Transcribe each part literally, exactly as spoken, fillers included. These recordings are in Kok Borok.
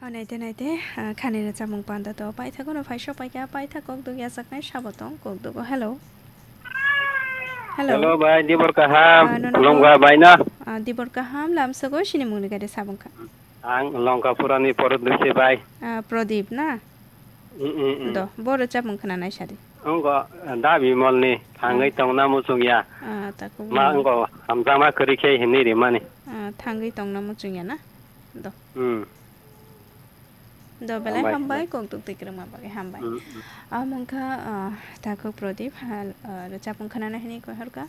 Naite naite, ah, khani rwchapmung panda to paithago no phai sok paikha, paithak kok duk yachaknai sabo tong kok dugo. Hello. Hello. Hello, bai, dibor kaham. Ah, nono Khulumkha bo? Bai na. Ah, dibor kaham, lamsogo sini mungni gade sabung kha. Ang Longkapurani Prodip se bai. Ah, Prodip na? Mm, mm, mm. Do, bo rwchapmung khna nai sadi. Ongo, da Bimolni thangwi Ah. tongna muchungya. Ah, taku Ma Bimol. Ongo hamjakma kwrwi khe hinwi rimani. Ah, thangwi tongna muchungya na? Do. Hmm. Do belai Hambai, hambai, hambai. Kok duk twi kwrwngma bagwi hambai. Hmm, hmm. Amo wngkha, ah, takhuk Prodip, hal, ah, rwchapmung khwnana hinwi koi horkha.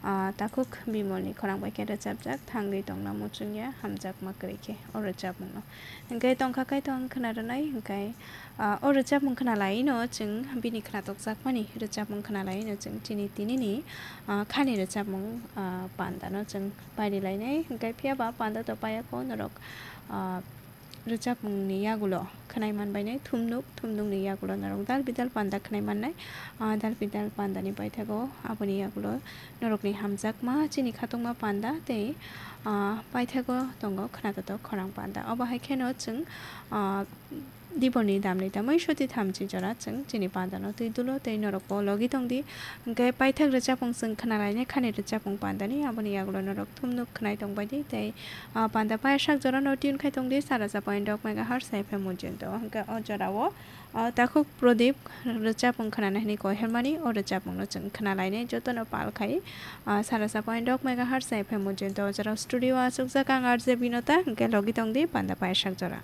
Ah, takhuk Bimolni khorang bai khe rwchapjak, thangwi tongna muchungya, hamjakma kwrwi khe o rwchapmungno. Hwnkhe tongkha kaitor khna rwnai, hwnkhe, ah, o rwchapmung khna laino chwng bini khnatukjakmani rwchapmung khna laino chwng chini tinini, ah, khani rwchapmung, ah, pandano chwng pairi lainai, hwnkhe phiyaba panda to payakho norok, ah, rwchapmungni yagulo khwnai manbainai thumnuk, thumnukni yagulo norok dal bidal panda khwnai mannai. Ah, dal bidal pandani paithago aboni yagulo norokni hamjakma chini khatungma panda tei, ah, paithago tongo khwnatotok khorang panda. Obo hai kheno chwng, ah, diborni damni tamwi soti thamchi jora chwng chini pandano twi dulo tei norokbo logi tongdi. Hwnkhe paithak rwchapmung chwng khwnalainai khani rwchapmung pandani aboni yagulo norok thumnuk khwnai tongbaidi tei Ah, panda payasak jorano tune khai tongdi, sara sa point dok megahertz F M Mujinto. Hwnkhe o jorao, ah, takhuk Prodip rwchapmung khwnana hinwi koi hermani, o rwchapmungno chwng khwnalainai jotono pal khai, ah, sara sa point dok megahertz F M Mujinto. O jorao studio o achukjak ang R J Binota, hwnkhe logi tongdi panda payasak jora.